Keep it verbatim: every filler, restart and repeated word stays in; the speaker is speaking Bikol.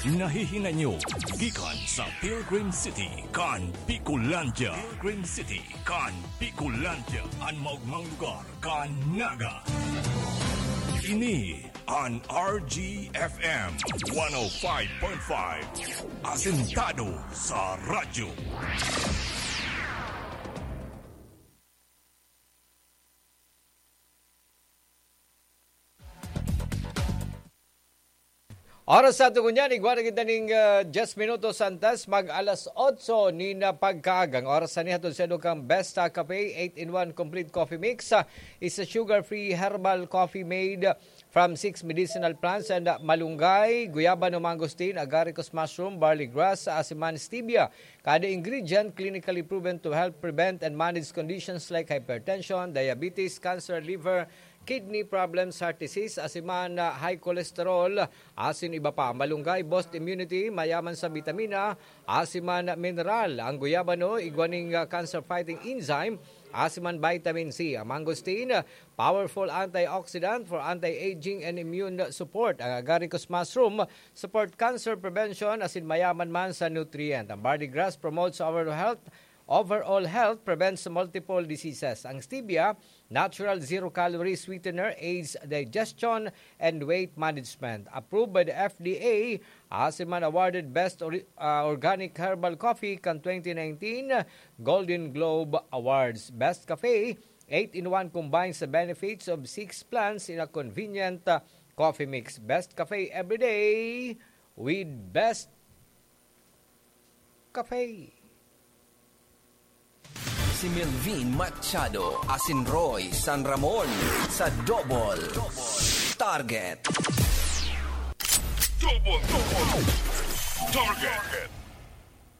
Nahihinay nyo gikan sa Pilgrim City kan Bicolandia. Pilgrim City kan Bicolandia, an maogmang lugar kan Naga. Ini an R G F M one oh five point five, asentado sa radyo. Oras sa ato ngunyan, igwa na kita ning, ah, diyes minutos antes mag alas otso nin pagkaaga. Ang oras na niya, hatod sa inyo kan Best, ah, Cafe, eight-in-one complete coffee mix. Ah, is a sugar-free herbal coffee made from six medicinal plants and, ah, malunggay, guyabano, mangosteen, agaricus mushroom, barley grass, asin man stevia. Kada ingredient clinically proven to help prevent and manage conditions like hypertension, diabetes, cancer, liver, kidney problems, heart disease, asin man, ah, high cholesterol, asin iba pa. Malunggay, boost immunity, mayaman sa bitamina, asin man mineral. Ang guyabano, igwa ning, ah, cancer-fighting enzyme, asin man vitamin C. Ang mangosteen, ah, powerful antioxidant for anti-aging and immune support. Ang agaricus mushroom, support cancer prevention, asin mayaman man sa nutrient. Ang barley grass promotes our health, overall health, prevents multiple diseases. Ang stevia, natural zero-calorie sweetener, aids digestion and weight management. Approved by the F D A, asin man awarded Best Ori-, ah, Organic Herbal Coffee kan twenty nineteen Golden Globe Awards. Best Cafe, eight-in-one combines the benefits of six plants in a convenient, ah, coffee mix. Best Cafe every day with Best Cafe. Si Melvin Machado asin Roy San Ramon sa Double Target. Double, double. Target.